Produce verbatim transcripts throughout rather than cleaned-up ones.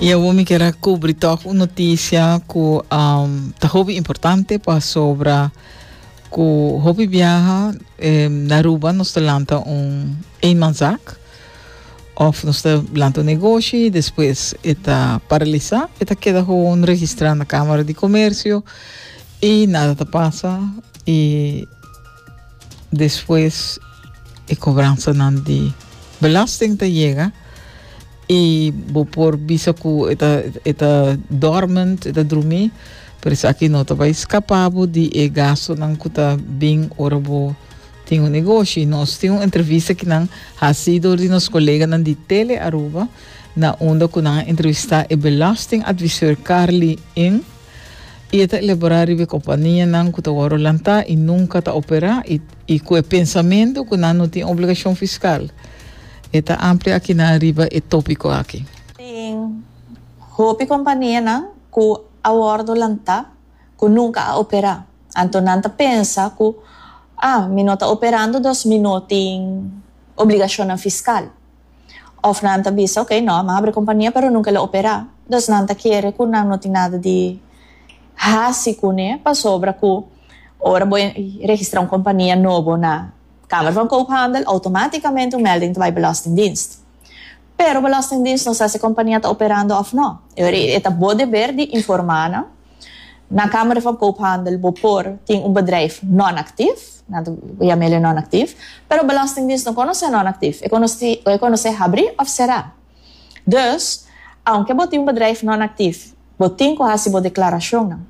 I awor mi ke kubri toch un notisia ku um, ta hopi importante pasobra ku hopi biaha eh, na Aruba nos ta lanta un eenmanszaak of nos ta lanta un negoshi, despues e ta paralisá, e ta keda gewoon registrá na Kámara di Komersio i nada ta pasa i despues e kobransa nan di belasting ta yega i bo por bisa ku e ta e ta dormant, e ta drumí, pero esaki no ta bai skapa bo di e gasto nan ku ta bin ora bo tin un negoshi. Nos tin un entrevista ku nan hasi dor di nos koleganan di Tele Aruba, na unda ku nan a entrevistá e belastingadviseur Carly Ing i e ta elaborá riba kompania nan ku ta wòrdu lantá i nunka ta operá i i ku e pensamentu ku nan no tin obligashon fiskal. E ta amplia aki na riba e tópiko aki. Tin hopi kompania nan ku a wòrdu lantá ku nunka a operá. Anto nan ta pensa ku, ah, mi no ta operando, dus mi no tin obligashon fiskal. Of nan ta bisa, ok, no, m'a habri kompania, pero nunka el a operá. Dus nan ta kere ku nan no tin nada di hasi kuné, pasobra ku ora bo registrá un kompania nobo na Kamer van Koophandel, outomátikamente un melding bij Belastingdienst. Pero Belastingdienst no sa si e kompania ta operando òf no. E ta bo deber di informá na na Kamer van Koophandel bo por tin un bedrijf non-actief, nan ta yam'é non-actief, pero Belastingdienst no konosé non-actief. E konosé, e konosé habrí òf será. Dus, aunke bo tin un bedrijf non-actief, bo tin ku hasi bo deklarashon nan.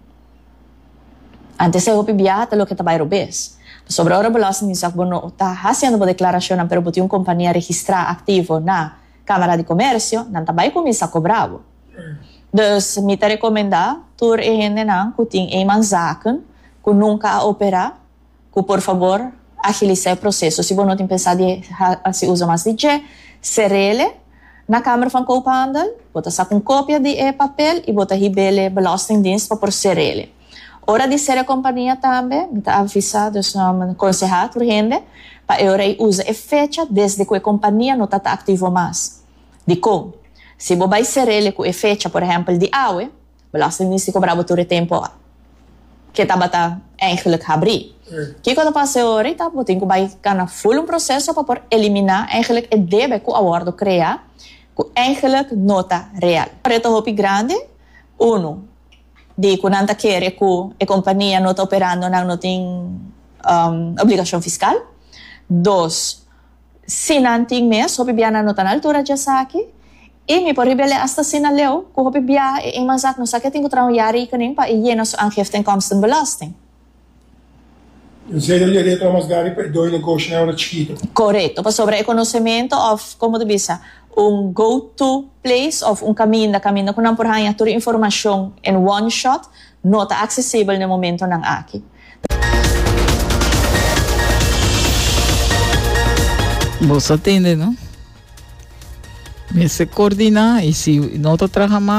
Antes e hopi biaha ta loke ta bai robes. Pasobra ora Belastingdienst bo no ta hasiendo bo deklarashon, pero bo tin un kompania registrá aktivo na Kámara di Komersio, nan ta bai kuminsá kobra bo. Dus mi ta rekomendá tur e hendenan ku tin eenmanszaken ku nunka a operá, ku por fabor agilisá e proseso. Si bo no tin pensá di hasi uso mas di dje, ser'é na Kamer van Koophandel, bo ta saka un kopia di e papel i bo ta hib'é Belastingdienst pa por ser'é. Ora di sera e kompania tambe, mi ta avisá, dus um, konsehá tur hende, pa e ora usa e fecha desde ku e kompania no ta aktivo mas. Dikon? Si bo bai ser'é ku e fecha, por ehèmpel, di awe, Belastingdienst ta kobra tur e tempu ku e tabata eigenlijk habrí. Kiko ta pasa ahorita, bo tin ku bai kana full un proseso pa por eliminá eigenlijk e debe ku a wòrdu kreá, ku eigenlijk no ta real. Reto hopi grandi, uno, di ku nan ta kere ku e kompania no ta operando, nan no tin um, obligashon fiskal. Dos, si nan tin mes, hopi bia nan no ta na altura di esaki. I mi por rebele hasta asina leu, ku hopi bia e eenmanszaak no sa ku tin ku traha un jaarrekening pa e yena su aangifte inkomstenbelasting. Esei ta reto mas grandi pa e negoshi na ora chikitu. Korekto, pasobra e konosementu òf, kon ta bisa, un go-to place òf un kaminda, kaminda ku nan por haña tur informashon in one shot, no ta aksesibel na e momentonan aki. Bo a tende, no? Mester koordiná i si no ta traha mas